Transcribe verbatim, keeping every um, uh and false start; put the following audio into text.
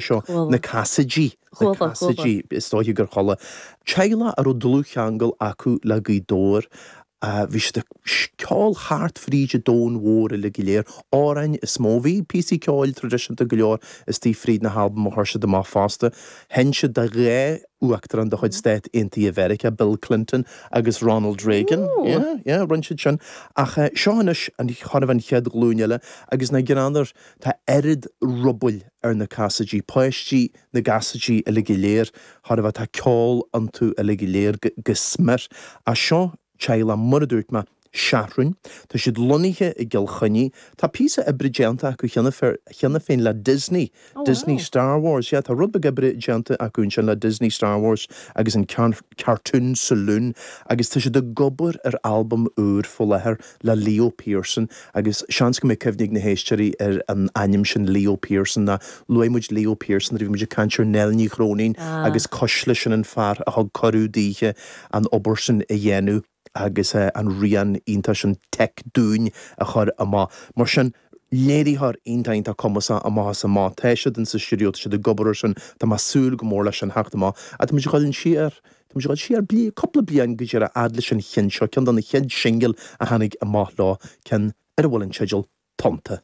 seo na Cassidy Cassidy is dóiche gur chuala. Teaghlach a raibh dlúthcheangal acu le Gaoth Dobhair bhí siad ag ceol thart fríd an domhan mhór uile go léir, amhráin is mó. Bhí píosaí ceoil traidisiúnta go leor istigh fríd na halbaim a chuir siad amach fosta. Sheinn siad do dhá uachtarán de chuid Stát Aontaithe Mheiriceá, Bill Clinton agus Ronald Reagan. Yeah, yeah, rinne siad sin. Ach seo anois an chorh an chéad ghlúin eile agus na greannar tá oiread rubaill ar na Cassidy, páistí na gCassidy uile go léir, chor a bheith tá ceol iontu uile go léir go smior. A seo teaghlach mar a dúirt mé Seathrún, Tá siad lonnaithe i gCill Chainnigh, Tá píosa oibre déanta acu cheana cheana féin le Disney, oh, Disney wow. Star Wars. Yeah, tá rud beag oibre déanta acu ansin le Disney Star Wars agus an Cartoon Saloon agus tá siad ag obair ar albam úr faoi láthair le Leo Pearson agus seans go mbeidh cuimhne ag na héisteoirí ar an ainm sin Leo Pearson ná luaigh muid Leo Pearson bhí muid ag caint ar Nell Ní Chróinín ah. agus Cuisle sin an fear a thug cuireadh daoithe an obair sin a dhéanamh agus uh, an rian iontach sin Tech Dúin a chur amach. Mar sin léiritheoir iontach iontach cumasach amach is amach tá siad in sa stiúideo siad ag obair sin Tá mé ag súil go mór leis an theacht amach a Tá muid ag dul siar Tá muid ag dul siar bliain cúpla bliain go dtí a fhad leis an cheann seo ceann de na chéad singil a tháinig amach leo ceann ar a bhfuil an teideal Tonnta.